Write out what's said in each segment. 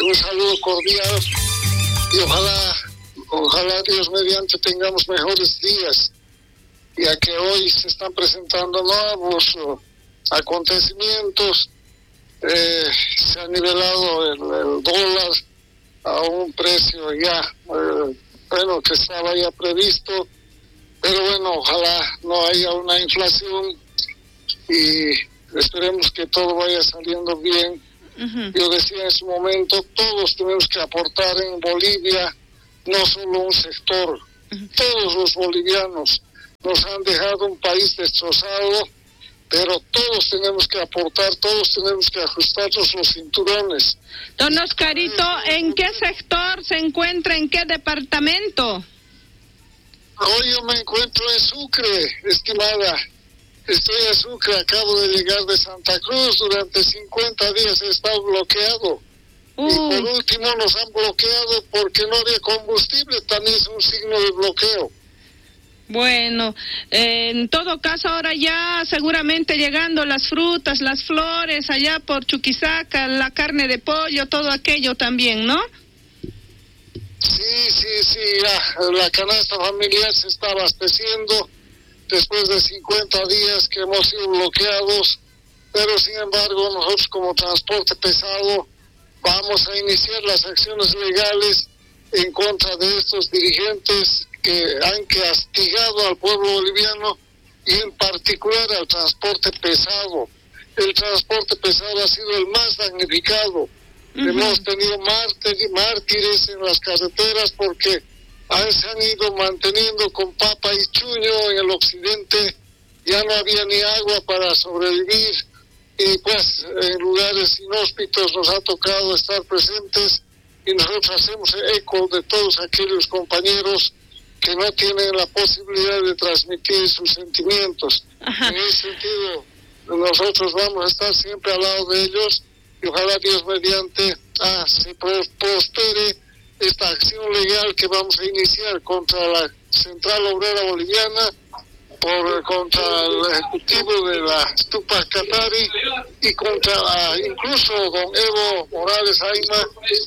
Un saludo cordial y ojalá, ojalá Dios mediante tengamos mejores días, ya que hoy se están presentando nuevos acontecimientos. Se ha nivelado el dólar a un precio ya, bueno, que estaba ya previsto, pero bueno, ojalá no haya una inflación y esperemos que todo vaya saliendo bien. Yo decía en su momento, todos tenemos que aportar en Bolivia, no solo un sector, todos los bolivianos nos han dejado un país destrozado, pero todos tenemos que aportar, todos tenemos que ajustarnos los cinturones. Don Oscarito, ¿en qué sector se encuentra, en qué departamento? Hoy yo me encuentro en Sucre, estimada. Estoy en Sucre, acabo de llegar de Santa Cruz, durante 50 días he estado bloqueado. Y por último nos han bloqueado porque no había combustible, también es un signo de bloqueo. Bueno, en todo caso ahora ya seguramente llegando las frutas, las flores allá por Chuquisaca, la carne de pollo, todo aquello también, ¿no? Sí, sí, sí, ya, la canasta familiar se está abasteciendo después de 50 días que hemos sido bloqueados, pero sin embargo nosotros como transporte pesado vamos a iniciar las acciones legales en contra de estos dirigentes que han castigado al pueblo boliviano y en particular al transporte pesado. El transporte pesado ha sido el más damnificado. Hemos tenido mártires en las carreteras porque se han ido manteniendo con papa y chuño en el occidente, ya no había ni agua para sobrevivir y pues en lugares inhóspitos nos ha tocado estar presentes y nosotros hacemos eco de todos aquellos compañeros que no tienen la posibilidad de transmitir sus sentimientos. Ajá. En ese sentido, nosotros vamos a estar siempre al lado de ellos y ojalá Dios mediante se prospere esta acción legal que vamos a iniciar contra la Central Obrera Boliviana, contra el Ejecutivo de la Tupac Katari y contra incluso don Evo Morales Ayma,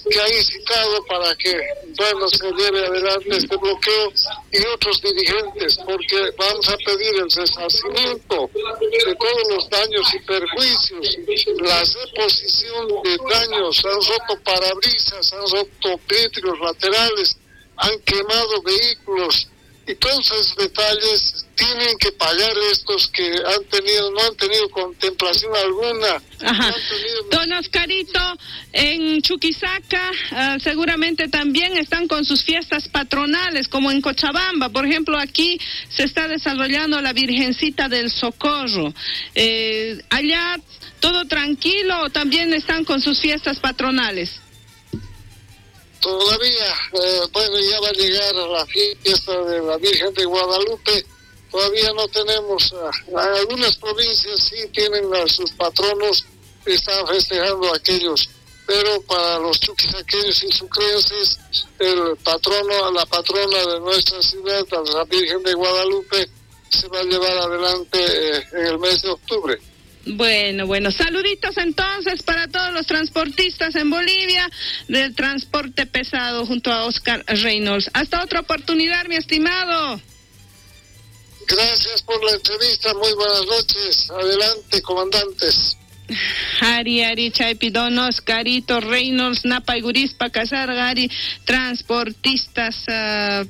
que ha incitado para que, bueno, se lleve adelante este bloqueo, y otros dirigentes, porque vamos a pedir el resarcimiento de todos los daños y perjuicios, la reposición de daños, han roto parabrisas, han roto vidrios laterales, han quemado vehículos, y todos esos detalles tienen que pagar estos que han tenido, no han tenido contemplación alguna. Ajá. No han tenido... Don Oscarito, en Chuquisaca seguramente también están con sus fiestas patronales, como en Cochabamba. Por ejemplo, aquí se está desarrollando la Virgencita del Socorro. Allá todo tranquilo, o también están con sus fiestas patronales. Todavía, bueno, ya va a llegar la fiesta de la Virgen de Guadalupe. Todavía no tenemos, algunas provincias sí tienen a sus patronos, están festejando aquellos, pero para los chuquisaqueños y sucrenses, el patrono, la patrona de nuestra ciudad, la Virgen de Guadalupe, se va a llevar adelante en el mes de octubre. Bueno, bueno, saluditos entonces para todos los transportistas en Bolivia del transporte pesado junto a Oscar Reynolds. Hasta otra oportunidad, mi estimado. Gracias por la entrevista, muy buenas noches. Adelante, comandantes. Ari, Ari, Chaypi, don Oscarito Reynolds, Napaygurispa, Casargari, transportistas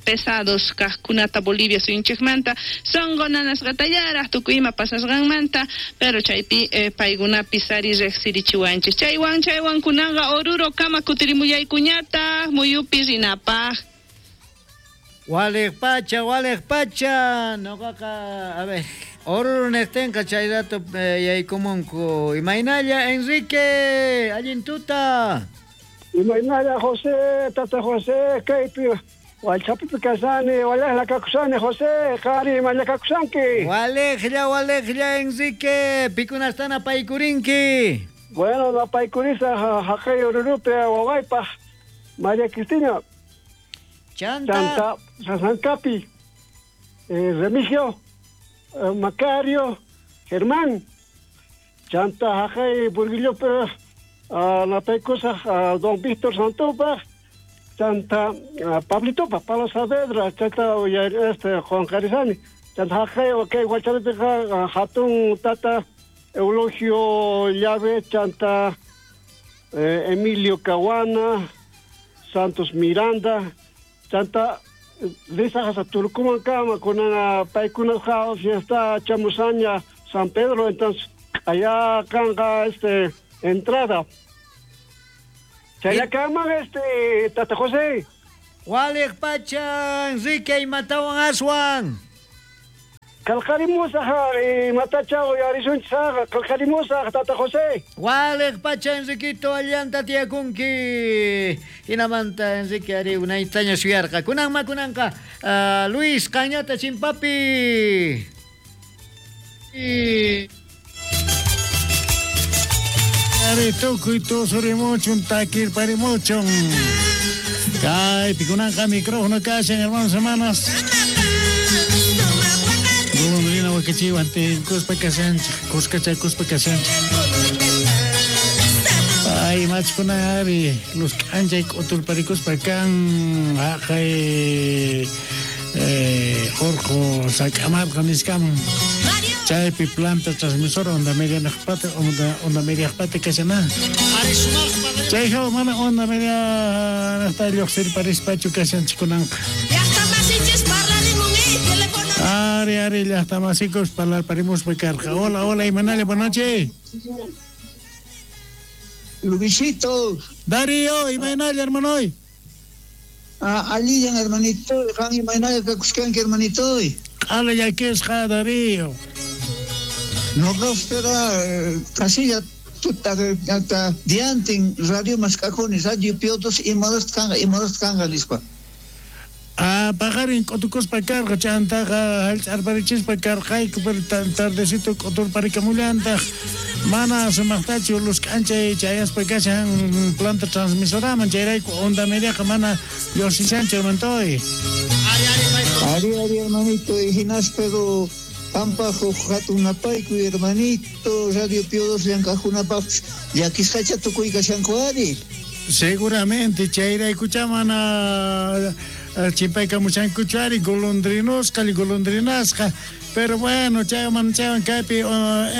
pesados, Kajkunata, Bolivia, Suyunchikmanta, Songonanas Gatayara, Tukuima, Pasasganmanta, pero Chaypi, Paigunapi, Sari, Rexirichiwanchis. Chaywan, Chaywan, Kunanga, Oruro, Kama, Kutirimuyay, Kuñata, Muyupi, Rinapa. Walej pacha, noqaqa, a ver, Oruro neqtinqa chay rato yaykumunku. Imaynalla, Enrique, allin tuta. Imaynalla, José, tata José, kaypi, Wallchapipi kasani, walejla kakusani, José, qari, imalla kakusanki. Walejlla, walejlla, Enrique, pikunastana apaykurinki. Bueno, apaykurisa haqay Orurupi wawaypaq, María Cristina. Chanta. Sasancapi, Remigio, Macario, Germán, Chanta, Jajay, Burguillo, Napaykusaj don Víctor Santopaj, chanta Pablitopaj, Pablo Saavedra, chayta este qonqarisani. Chanta haqay kay Hualchapipiqa hatun tata Eulogio Llave, chanta Emilio Caguana, Santos Miranda, chanta risaj Turkuman kama kunana paykunasqa fiesta chamusaña San Pedro, entonces allá kanqa este entrada. Chayakaman este Tata José. Waliq pacha Enrique imatawan aswan. Qalqarimusaj imatacha uyarisunchis qalqarimusaj Tata José. Waliq pacha Enriquito allanta tiyakunki. Hinamanta Enrique ari unaytaña suyarqa. Kunanma kunanqa Luis Cañata chimpapi. Ari tukuy tusurimuchun takirparimuchun. Kaypi kunanqa micrófono kashan hermanos hermanas. Golondrina wakachiwan tinkuspa kashanchik, kuskachakuspa kashanchik. Ay, machkuna ari luz k'anchay k'uturparikuspa kan haqay orqu sak'amarqa niskaman. Chaypi planta transmisora onda media naqpata onda media naqpata kashana. Chay hawa mana onda media naqta lluqsirparispachu kashanchik kunanqa. Ari, ari, llaqtamasikus parlarparimuspa karqa. Hola, hola, imanalla, buenas noches. Luisito. Darío, imanalla, hermano. Alillan, hermanito. Qan imanalla kakuskanki, hermanito. Q'ala llakisqa, Darío. Noqa espera kasilla tuta diantin radio mask'akuni, radio Piotos imaras kanqa nispa. Paqarin k'utukuspa karqa, chantaqa hallch'arparichispa karqayku, pero tardecito k'uturparikamullantaq. Mana sumaqtachu luz k'anchay chayaspa kashan planta transmisoraman, chayrayku onda mediaqa mana lluqsishanchu, hermantoy. Ari, ari, hermanito, hinas pero pampaj hatun napayku, hermanito, Radio Pio 2 llank'ajkunapaq llakisqacha tukuy kashanku ari. Seguramente chayraykucha mana chimpaykamushankuchu ari golondrinosqa, golondrinasqa. Pero bueno, chaywan chaywan kaypi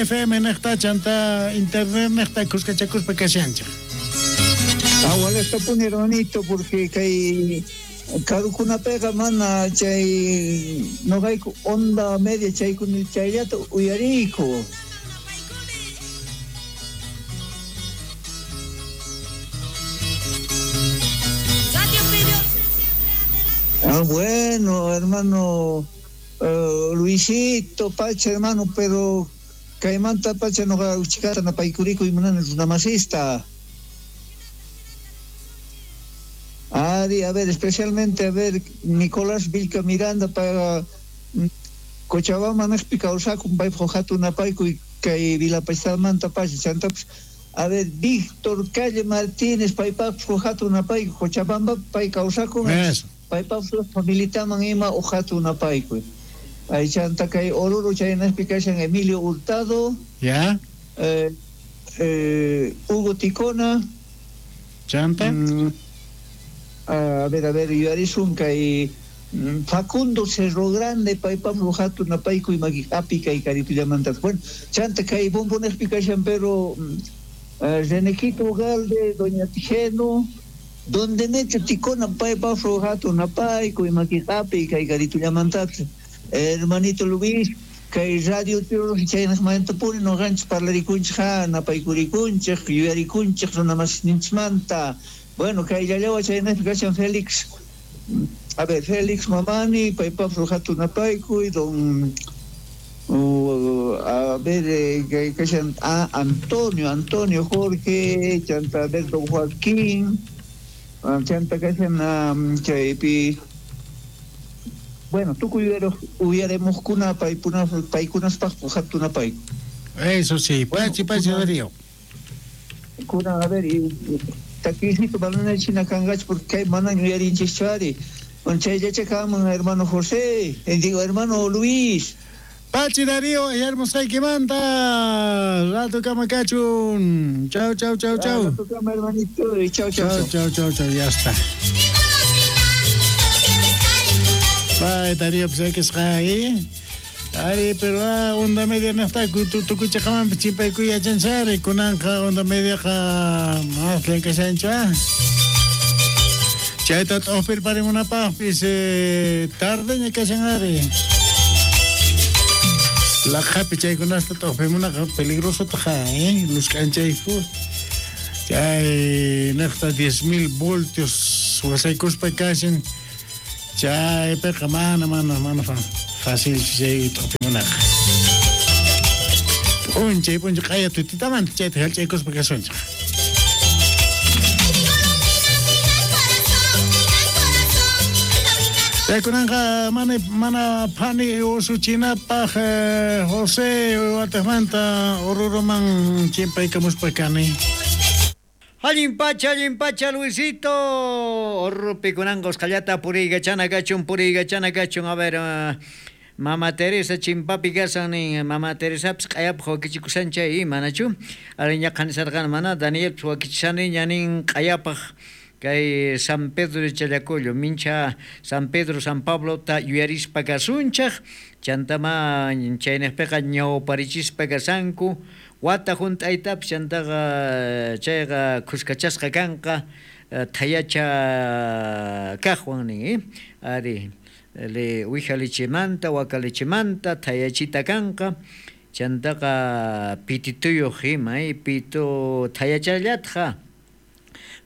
FM niqta chanta internet niqta kuskachakuspa kashanchik. Awalastapuni, hermanito, porque kay karukunapiqa mana chay noqayku onda media chaykuna chayllata uyariyku. Ah, bueno, hermano Luisito, Pacha, hermano, pero kaymanta Pacha noqa uchikata napaykuriku imanani runamasista. Ari, a ver, especialmente, a ver, Nicolás Vilca Miranda para Cochabamba naqpi kawsakun paypaq hatun napayku kay Vilapachtamanta Pacha chantapas. A ver, Víctor Calle Martínez paypaq hatun napayku Cochabamba pay kawsakun. Paypaq familitaman ima hatun napayku. Ay chanta kay Oruro chaynaqpi kashan Emilio Hurtado. Ya. Hugo Ticona. Chanta. A ver, yuyarisun kay Facundo Cerro Grande paypaq hatun napayku imaki api kay karitullamantas. Bueno, chanta kay Bombonejpi kashan pero Renequito Ugalde, Doña Tijeno, Don Demetrio Ticona paypaq hatun napayku imaki api kay karitullamantas. Hermanito Luis, kay Radio Pio chaynaqmantapuni noqanchik parlarikunchik napaykurikunchik yuyarikunchik runamasninchikmanta. Bueno, kay llallawa chaynaqpi kashan Félix, a ver, Félix Mamani, paypaq hatun napayku, don a ver, kashan Antonio Jorge, chanta a ver, don Joaquín, chanta kashan chaypi. Bueno, tukuy uyaremujkuna paykunaspaq hatun napayku. Eso sí, pachi pachi Darío. Kuna, a ver, y takisito manana china kanqachu porque kay mana yuyarinchikchu ari. Bueno, chayllacha kanman hermano José, digo hermano Luis. Pachi Darío, ayarmusqaykimanta. Rato kama kachun. Chau, chau, chau, chau. Rato kama, hermanito. Chau, chau, chau. Chau, chau, chau, ya está. Bye, Darío, pues que ahí. Ari, pero onda media naqta tukuchaqamanpis chimpaykuy yachanchari kunanqa onda mediaqa mas llank'ashanchu chayta t'uqpirparimunapaqpis tardeña kashan ari. Laqhapi chaykunasta t'uqpimunaqa peligrosotaq luz k'anchayku chay niqta 10,000 voltios wasaykuspa kashan chaypiqa mana mana mana fácil chay t'uqpimunaqa. P'unchay p'unchay q'aya tutitamanta chayta hallch'aykuspa kasunchik. Kunanqa mana mana phani usuchinapaq José wataqmanta Oruroman chimpaykamuspa kani. Allin pacha, Luisito. Oruropi kunanqa usqhallata puriykachana kachun, puriykachana kachun. A ver, Mama Teresa chimpapi kasan nin. Mama Teresapis q'ayapaq wakichikushan chay, manachu? Ariñaqa nisarqani mana, Danielpis wakichishaniña nin q'ayapaq kay San Pedro de Challacollo, mincha San Pedro, San Pablo ta yuyarispa kasunchaq, chantama chaynejpiqa ñawparichispa kasanku, wata hunt'aytapis chantaqa chayqa khuskachasqa kanqa thayacha kaqwan nin, ari wija lechemanta, waka lechemanta thayachita kanqa, chantaqa pitituyuq ima, pitu thayachallatqa.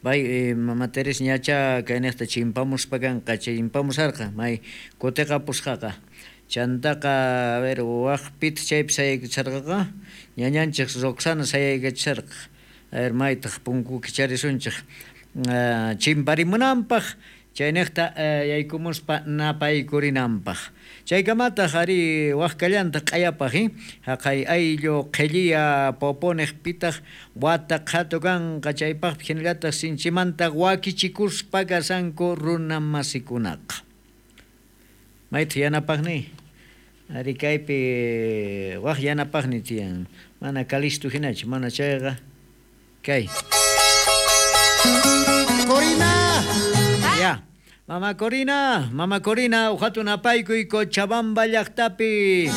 Bay Mama Teresa ñacha kaynejta chimpamuspa kanqa, chimpamusarqa, may kutiqapusqaqa. Chantaqa, a ver, waq pitaq chaypi sayaykachisarqaqa, ñañanchik Roxana sayaykachisarqa. A ver, maytaq punku kicharisunchik chimparimunanpaq, chaynejta yaykumuspa napaykurinanpaq. Chaykamataq ari waq kallantaq q'ayapaq, haqay ayllu qhilliya poponiq pitaq wata qhatu kanqa chaypaqpi hinallataq sinchimanta wakichikuspa kasanku runa masikunaqa. Maytaq yanapaqni? Ari kaypi waq yanapaqni tiyan. Mana Calisto hinachu, mana chayqa kay. Corina. Ya. Mama Corina, Mama Corina, uhatun apaykuy Cochabamba llaqtapi.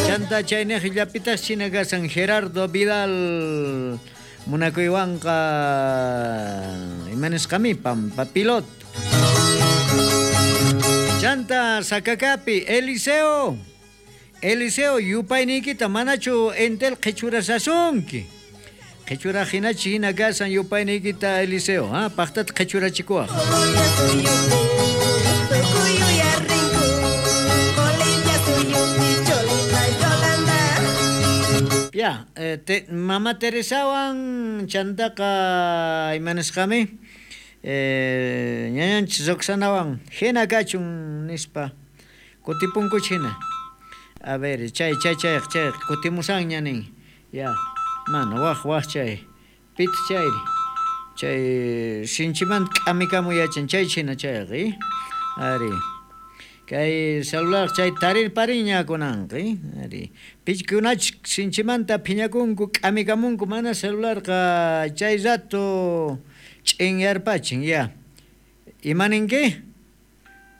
Chanta chaynej llapitaq china kasan Gerardo Vidal munakuywanqa imanisqami Pampa Pilot. Chanta Sacacapi Eliseo, Eliseo yupayniykita manachu entel qhichurasasunki. Qhichura hinachi hina kasan yupayniykita Eliseo, paqtata qhichurachikuwaq. Ya, Mama Teresawan chantaqa imanisqami ñañanchis Roxanawan hina kachun nispa kutipunkuch hina. A ver, chay chay chay chay kutimusanña nin. Ya. Mana waq waq chay pit chayri chay sinchimanta k'amikamu yachan chay china chayqa ari kay celular chay tarirpariña kunanqa ari pichkunach sinchimanta phiñakunku k'amikamunku mana celularqa chay rato ch'inyarpachin ya imaninki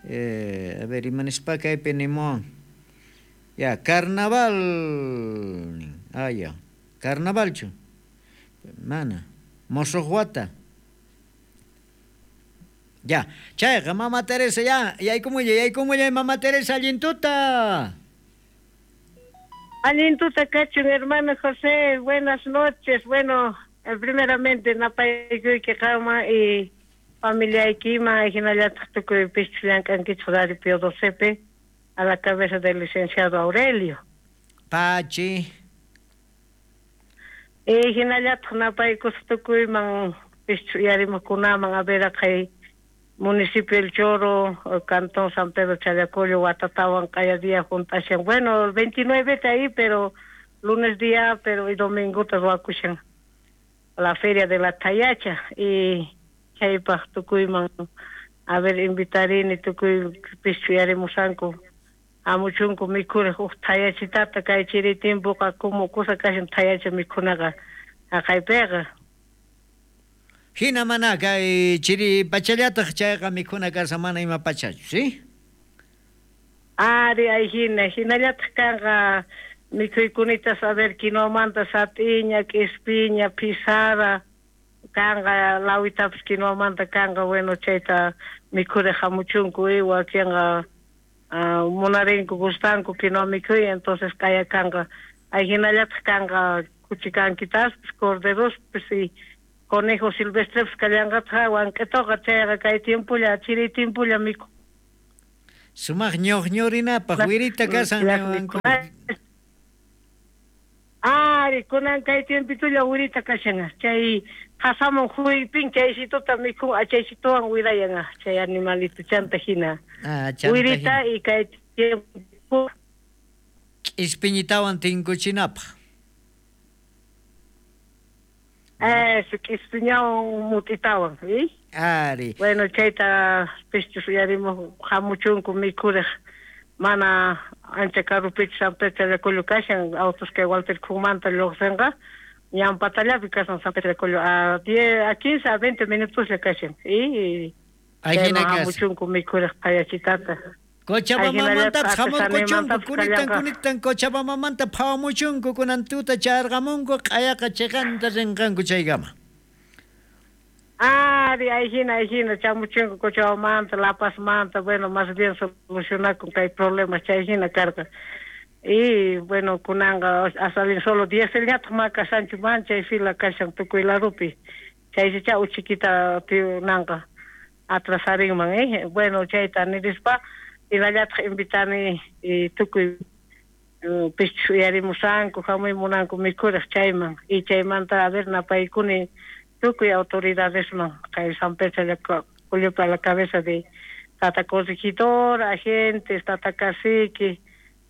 a ver imanispa kaypi nimuwan ya carnaval ya Carnavalchu, mana, mosojuata. Ya, chayqa Mama Teresa ya, yaykumullay Mama Teresa allintuta. Allintuta kachun, hermano José, buenas noches. Bueno, primeramente napaykuyki qama y familiaykima, hinallataq tukuy pichus llank'ankichik Radio Pío XII a la cabeza del licenciado Aurelio. Pachi. Hinallataq napaykusqa tukuyman pichus uyarimuqkunaman a ver kay municipio El Choro, cantón San Pedro Challacollo, watatawan q'aya día junt'ashan. Bueno, el 29 ahí, pero lunes día, pero y domingo ruwakushan la feria de la Tayacha y chaypaq tukuyman a ver invitarini tukuy pichus uyarimusanku Hamuchunku mikhuriq huk thayachitata kay chiri tiempoqa como kusa kashan thayacha mikhunaqa haqaypiqa. Hina mana kay chiri pachallataq chayqa mikhuna kashan mana ima pachachu, ¿sí? Ari, ay hina, hinallataq kanqa mikhuykunita a ver quinoamanta sat'iña, k'ispiña, pisara, kanqa lawitapis quinoamanta kanqa, bueno, chayta mikhuriq hamuchunku y wakinqa munarinku gustanku quinoa mikhuy, entonces kaya kanqa. Ay hinallataq kanqa kuchikankitaspas, corderospis y conejo silvestrepis kallanqataq wank'itoqa chayqa kay tiempolla, chiri tiempolla mikhu. Sumaq ñuqñurinapaq wirita kasan. Ari, kunan kay tiempitulla wirita kashan, chay qasamun huypin chaysituta mikhun, achaysituwan wirayan chay animalito chanta hina. Wirita y kay tiempo k'ispiñitawan tinkuchinapaq. Eso, k'ispiñawan mut'itawan, ¿sí? Ari. Bueno, chayta pischus uyarimos hamuchunku mikhuriq mana ancha karupichu San Pedro Challacollo kashan, autos kay Walter Khumanta lluqsinqa, ñan patallapi kashan San Pedro Challacollo a 10, a 15, a 20 minutoslla kashan, y Ahí chayman hamuchunku mikhuriq thayachitata. Cochabambamantapis hamurquchunku, kunitan kunitan Cochabambamanta phawamuchunku, kunan tuta chayarqamunku, q'ayaqa chiqanta rinqanku chaykama. Ari, ahí hina, chamuchunku Cochabambamanta, La Pazmanta, bueno, más bien solucionakun kay problemas chay hina karqa. Y bueno, kunanqa hasta bien solo dieselñataq ma kashanchu man chay fila kashan tukuy larupi. Chaysicha uchikita tiunanqa atrasarinman, ¿eh? Bueno, chayta nirispa hinallataq invitani tukuy pischus uyarimusanku, hamuy munanku mikhuriq chayman. Y chaymanta a ver napaykuni tukuy autoridadesman kay San Pedro Challacollopi a la cabeza de tata corregidor, agentes, tata cacique,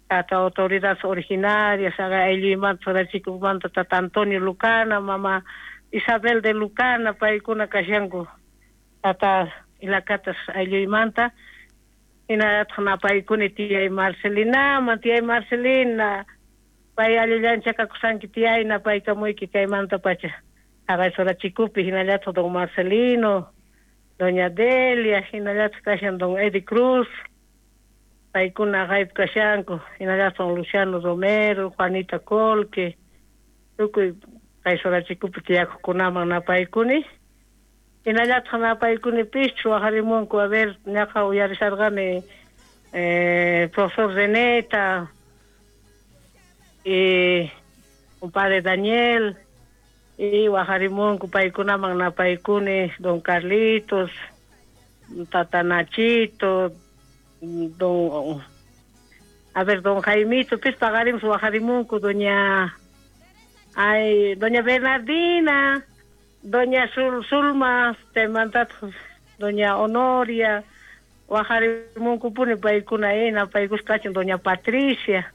tata autoridades originarias, haga aylluymanta Sarachikumanta tata Antonio Lucana, mama Isabel de Lucana, paykuna kashanku tata Ilakatas aylluymanta. Hinallataq napaykuni tiyay Marcelinaman, tiyay Marcelina, pay allillancha kakusanki tiyay napaykamuyki kaymanta pacha. Haqay Sorachikupi hinallataq don Marcelino, doña Delia, hinallataq kashan don Eddie Cruz, paykuna haqaypi kashanku, hinallataq don Luciano Romero, Juanita Colque, tukuy kay Sorachikupi tiyakuqkunaman napaykuni. Hinallataq napaykuni pischu waqarimunku, a ver, ñaqa uyarisharqani profesor Reneta, y compadre Daniel, y waqarimunku paykunaman napaykuni don Carlitos, tata Nachito, don, a ver, don Jaimito, pis paqarimus waqarimunku doña, ay, doña Bernardina, doña Zulma, chaymantataq doña Honoria, waqarimunkupuni paykuna napaykusqa kachin doña Patricia.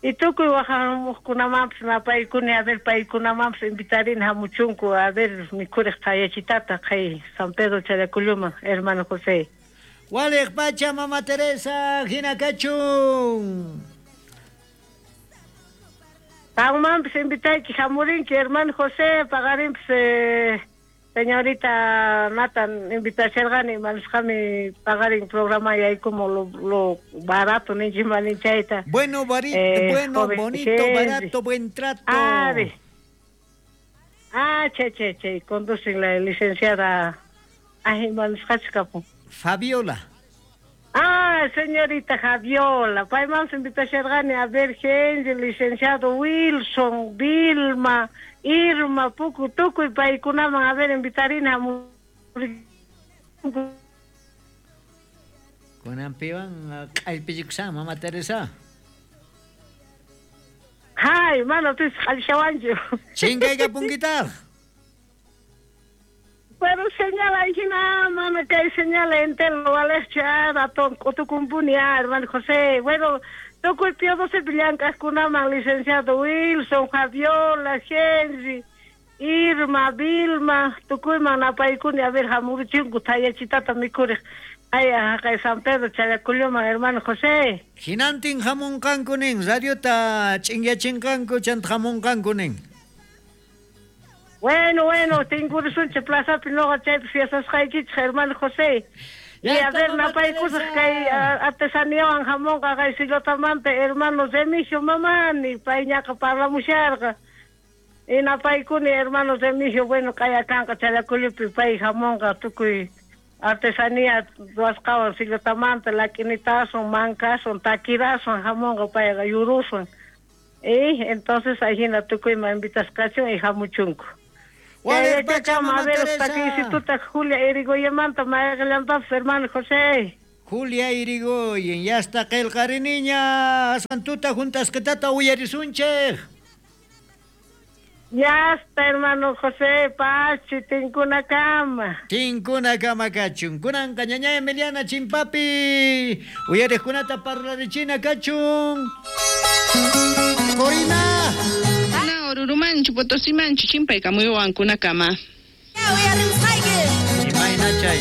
Y tukuy waqamuqkunamanpis napaykuni, a ver, paykunamanpis invitarin hamuchunku, a ver, mikhuriq thayachitata kay San Pedro Challacolloman, hermano José. Waliq pacha, mama Teresa, hina kachun. Qanmanpis invitayki hamurinki, hermano José, paqarinpis señorita Natan invitasharqani, imanisqami paqarin programa yaykumu lo barato ninchimani chayta. Bueno, bueno, bonito, Henry. Barato, buen trato. Ari. Ah, che, che, che, conducen la licenciada, ay, imanisqachus kapun. Fabiola. Ah, señorita Javiola, paymanpis invitasharqani, a ver, Henry, licenciado Wilson, Vilma, Irma, Puku, tukuy paykunaman, a ver, invitarina. Kunanpiwan q'allpichikushan, mama Teresa. Hay, mana pis q'allishawanchu. Chinkaykapunkitaq. Pero señala hina, mana kay señala entero waleqchu, ratón k'utukumpuni, hermano José. Bueno, tukuy Pío XII llank'aqkunaman, licenciado Wilson, Javiola, Henry, Irma, Vilma, tukuyman napaykuni, a ver hamurichunku thayachitata mikhuriq. Ay, haqay San Pedro Challacolloman, hermano José. Hinantin hamunqanku nin, radiota ch'inyachinqanku chanta hamunqanku nin. Bueno, bueno, tinkurisunchik plazapi noqa chaypi fiestasqaykichik, hermano José. Y a ver, napaykusaq kay artesaniawan hamunqa kay Silotamanta hermano Remigio Mamani, payñaqa parlamusharqa. Y napaykuni hermano Remigio, bueno, kaya kanqa Challacollopi pay hamunqa tukuy artesanía ruwasqawan Silotamanta, lakinitasun, mankasun, takirasun hamunqa payqa yurusun. Y entonces ahina tukuyman invitasqachun y hamuchunku. Wale A ver, takisituta Julia Irigoyemanta mayqillantapis hermano José. Julia Irigoyen, ya está qillqariniña, aswan tuta juntasqitata uyarisunchik. Ya está, hermano José, pachi, tinkunakama. Tinkunakama kachun. Kunanqa ñaña Emiliana Chimpapi, uyariqkunata parlarichina kachun. Corina. Na Orurumanchu, Potosimanchu, chimpaykamuywankunakama. Imayna chay.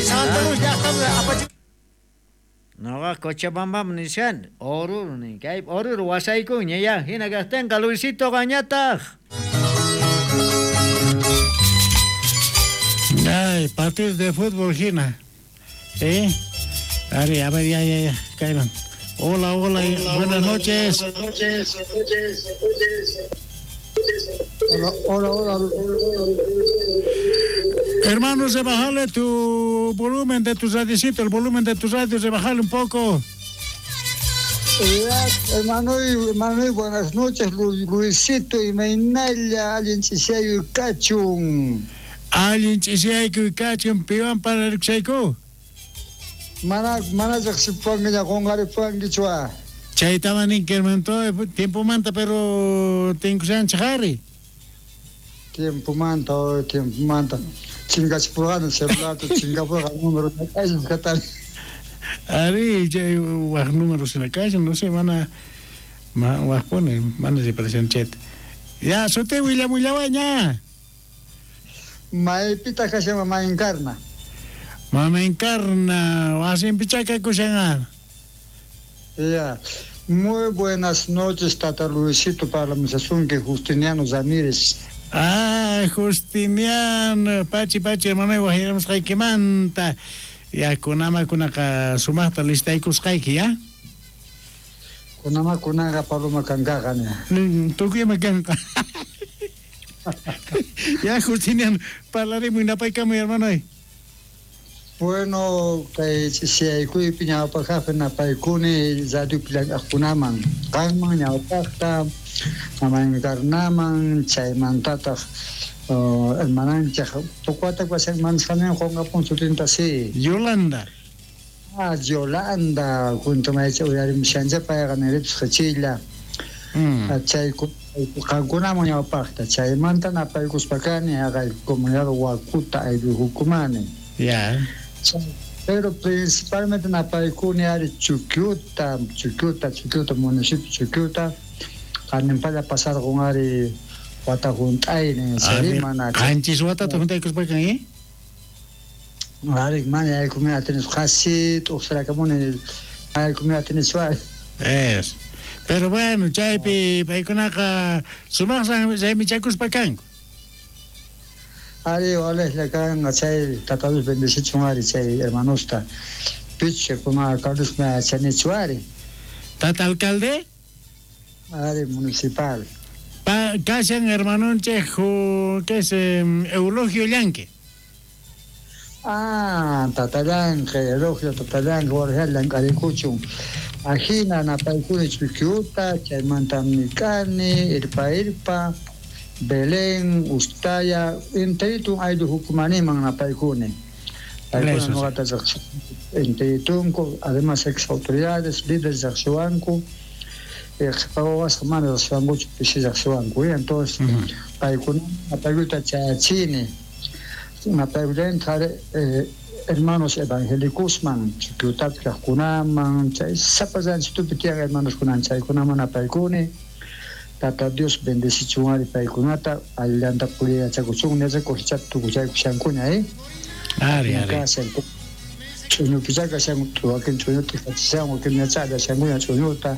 Noqa Cochabambam nishan, Oruro nin, kay Oruro wasaykuña ya, hina kaqtinqa Luisito qañataq. Ay, partidos de fútbol, Gina. ¿Eh? A ver, a ver, ya, ya, ya, caigan. Hola, hola, buenas noches. Hola, hola, hola. Hermano, rebajale tu volumen de tu radiocito, el volumen de tu radio, rebajale un poco. Ya, hermano, hermano, buenas noches, Luisito y Mainalla, allin chishayu kachun. Allin chishayu kachun, piwan para rikshayku. Mana, mana riqsipuwankiña, qunqaripuwankichwa. Chaytaman ninki, hermano, todo tiempo manta, pero tinkushanchik ari. Tiempo manta, oh, tiempo manta. Chinkachipurqani celularta, chinkapurqani número, katani. Ari, chay waj número sina kashan, no sé, mana, ma, wajpuni, mana riparashan chayta. Ya, suti willamullawaña. Maypitaq kashan Mama Encarna. Mama Encarna, wasinpichá kakushan. Ya. Muy buenas noches, Tata Luisito, para Misasunque, Justiniano Ramírez. Ah, Justiniano, pachi, pachi, hermano, wajiramusqaykimanta. Ya, kunama kunaqa sumaqta listaykusqayki, ya? Kunama kunaqa paloma kankaqa, ña. Tukuyma kanqa. Ya, Justiniano, parlarimuy napaykamuy, hermano. Bueno, kay ch'isiyaykuypi ñawpaqqa napaykuni radiopi llank'aqkunaman, qanman ñawpaqta, Mama Encarnaman, chaymantataq hermananchik tukuwata mansqanin qunqapun sutinta sí. Yolanda. Ah, Yolanda, junto maycha uyarimushancha payqa niripis qhichilla. Chay qankunaman ñawpaqta, chaymanta napaykuspa kani haqay comunidad Huacuta aylluhukumani. Ya. Pero principalmente napaykuni ari Chuquiuta, Chuquiuta, Chuquiuta, municipio Chuquiuta, qaninpalla pasarqun ari wata hunt'aynin, chayri mana. Qanchis watata hunt'aykuspakan, eh? Ari, mana yaykumi atinis, qasi t'uqsirakamuni, yaykumi atinischu ari. Es. Pero bueno, chaypi paykunaqa sumaqsan raymichakuspa kanku. Ari, walejlla kanqa chay Tata Dios bendecichun ari chay hermanosta. Picha kuma Carlos me chanichu ari. Tata alcalde? Ari municipal. Pa, kashan hermanonchej, ¿qué es? Eulogio Llanque. Ah, Tata Llanque, Eulogio Tata Llanque, walejlla llank'arikuchun. Ajina napaykuni Chuquiuta, chaymanta mikani, irpa irpa, Belén, Ustaya, enteritun ayllu hukumaniman napaykuni. Paykuna noqata enteritunku, además ex autoridades, líderes riqsiwanku, qhipawawasqa mana riqsiwankuchu, pisi riqsiwanku. Entonces, paykuna napaykuyta chayachini, napaykullanta hermanos evangélicosman, Chuquiutapi kaqkunaman, chay sapa ranchitupi tiyan hermanos kunan chaykunaman napaykuni. Tata Dios bendecichun ari paykunata allillanta puriyachakuchun yachakushchata tukuchaykushankuña Ari, ari. Kashan ch'uñupichá kashan wakin ch'uñuta kachishan wakin ñachá allashankuña ch'uñuta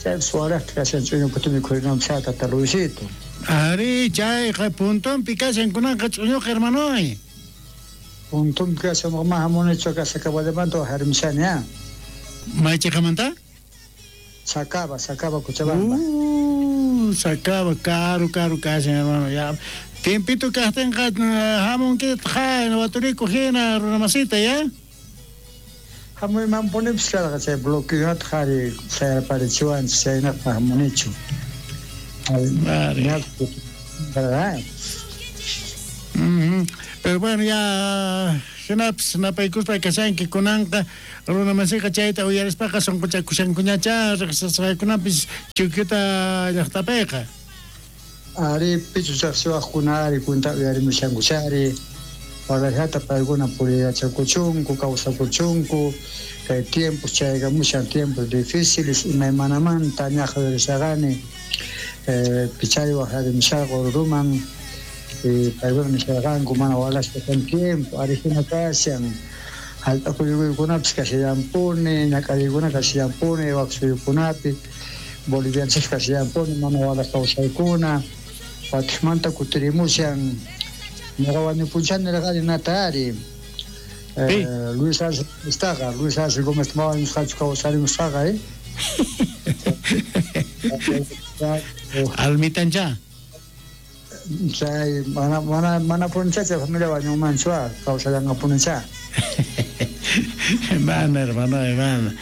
chaypis waraqta kashan ch'uñuputa mikhurinanpis tata Luisito. Ari, chayqa puntonpi kashan kunanqa ch'uñuqa hermanoy. Puntonpi kashan ma hamunichu ka Sacabamanta wajarimushani ah. Maychiqamanta? Sacaba, Sacaba Cochabamba. Sacaba, karu karu kashan hermano ya. Tiempito kaqtinqa hamunkitaq waturikuq hina runamasita ya. Hamuymanpunipis karqa chay bloqueonata qhari sayarparichiwanchik chaynaqpa hamunichu. Ari. Pero bueno, ya hinapis napaykuspa kashanki kunanqa runamasiqa chayta uyarispaqa sunquchakushankuñachá riqsisqaykunapis Chukyuta llaqtapiqa. Ari pichu chaqsiwaqkuna ari cuenta uyarimushankuchari warayata paykuna puriyachakuchunku kawsakuchunku kay tiempos chaygamushan tiempos difíciles imaymanamanta ñaqa uyarisaqani pichay wajarimushaqa Oruroman paykuna nisharqanku mana walaspa kan tiempo ari hina kashan hallp'akuykunapis kashallanpuni ñak'ariykuna kashallanpuni wak suyukunapi bolivianchis kashallanpuni mana walas kawsaykuna watijmanta kutirimushan ñuqa wañupunchani nirqani nata ari Luis Arce estaqa Luis Arce Gómez ma wañusqachu kawsarimusqaqa Almitancha chay mana mana mana puncha chay familia wañunmanchu kawsallanqapunicha. Mana hermano, mana.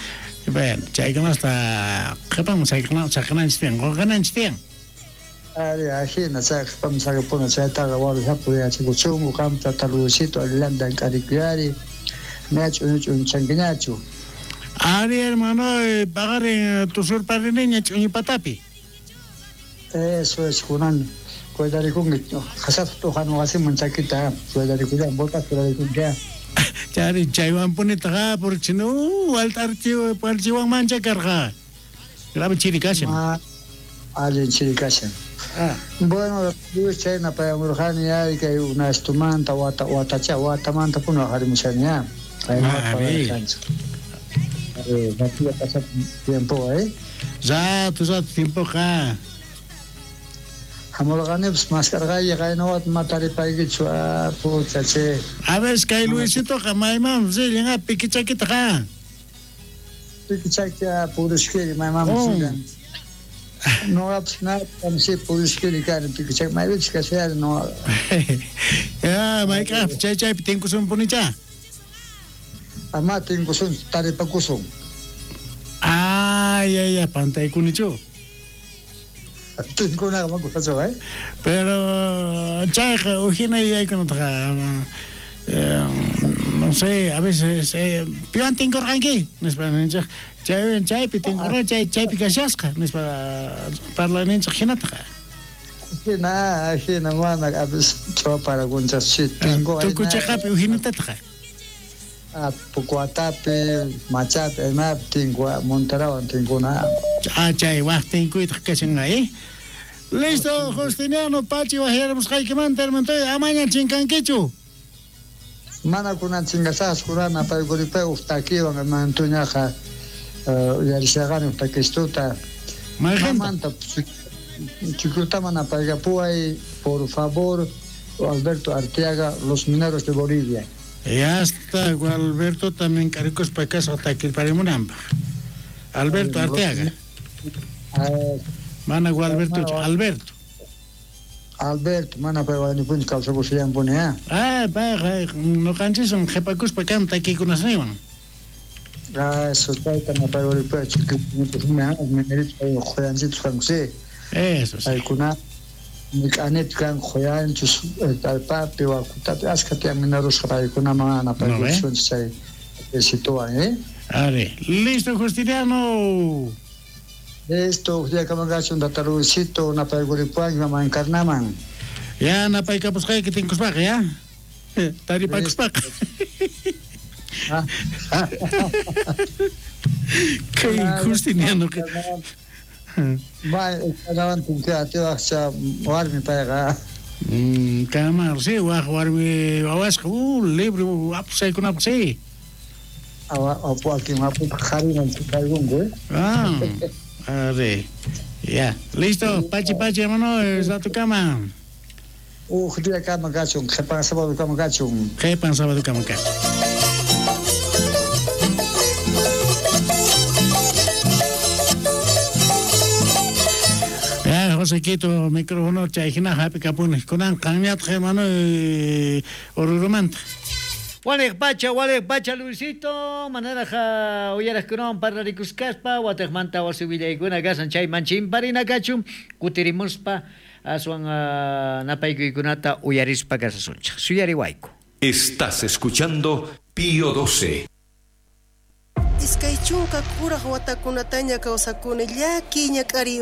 Bueno, chaykunasta qhipaman saqinanchik tiyan, qunqananchik tiyan. Ari, ajina, chay qhipaman saqipuna chaytaqa warushapu yachikuchunku qamta tata Luisito allillanta llank'arikuyari ña ch'uñu ch'uñuchankiñachu. Ari, hermano, paqarin tusurpariniña ch'uñu patapi. Eso es, kunan cuidarikunki qhasata t'uqan wasiman chakita cuidarikuyan, botas cuidarikunki. Chari chaywanpunitaqa porque si no waltarchiwanmancha karqa. Grave chiri kashan. Allin chiri kashan. Bueno, Luis chayna payamurqani ari kay unastumanta wata watacha watamanta puna wajarimushani ya. Ari, tiempo Rato rato tiempoqa. Hamurqanipis maskarqayki qaynawata ma taripaykichu pucha che. A ver, kay Luisitoqa maymanmi rillan pikichakitaqa. Pikichaki purishkiri maymanmi rillan. Noqapis natamsi purishkiri kani pikichaki maypichus kashayari noqa. Ya, mayk'aqpis chay chaypi tinkusunpunichá. Ama tinkusun taripakusun. Ay, ay, ay, pantaykunichu. Tinkunaqa makusachu, Pero chayqa ujina yuyaykunataqa no sé, a veces piwan tinkurqanki nispa ninchik chay chaypi tinkurqa chay chaypi kashasqa nispa parlayninchik hinataqa. Hina, hina mana a veces ch'uparakunchas tinku tukuchaqapi ujinatataqa. Pukuatapi, Machapi, imapi tinku, Monterawan tinkuna. Chay waq tinkuytaq kashanqa, Listo, Justiniano Pachi wajyaramusqaykimanta hermantoy, amaña chinkankichu. Mana kunan chingasaqchu kunan apaykuripay uj takiwan hermantuñaqa uyarishaqani uj takistuta. Mamanta Chukyutaman apaykapuway, por favor, Alberto Arteaga, Los Mineros de Bolivia. Ya está, Alberto también k'arikuspa kasqa takirparimunanpaq. Alberto Arteaga. Mana Gualberto, Alberto. Alberto, mana pay wañupunchu kawsakushallanpuni, Ah, payqa ñuqanchiswan qhipakuspa kan takikunasninwan. Eso, chayta napaykuripay minerito quyanchitus kanku, sí. Eso, sí. Paykuna mik'anipi kanku quyanchus allpapi wakutapi ashkha tiyan minerosqa paykunaman napaykusunchik chay esituwan, Ari, listo Justiniano. Listo, uj día kaman tata Luisito, napaykuripwanki mama Encarnaman. Ya napaykapusqayki tinkuspaqa, ya. Taripakuspaqa. Kay Justiniano. May ujanawan tinkuy atiwaqcha warmi payqa. Kama, sí, waj warmi wawasqa, libre apusaykunapaq, sí. Apu akin apu qhariman chukaykunku, eh. Ah, arre. Ya, listo, pachi pachi, hermano, ratukama. Uj día kama kachun, qhepan sábado kama kachun. Qhepan sábado kama kachun. Ya, Josequito, micrófono chay hina hap'ikapuni. Kunan qanñataq, hermano, Orurumanta. Waliq pacha, Luisito, manaraja uyaraqkunawan parlarikusqaspa, wataqmanta wasi willaykuna kasan chayman chimparina kachun, kutirimuspa aswan napaykuykunata uyarispa kasasunchik. Suyariwayku. Estás escuchando Pío 12. Iskay chunka kuraq watakunataña kawsakuni llaki ñak'ariy.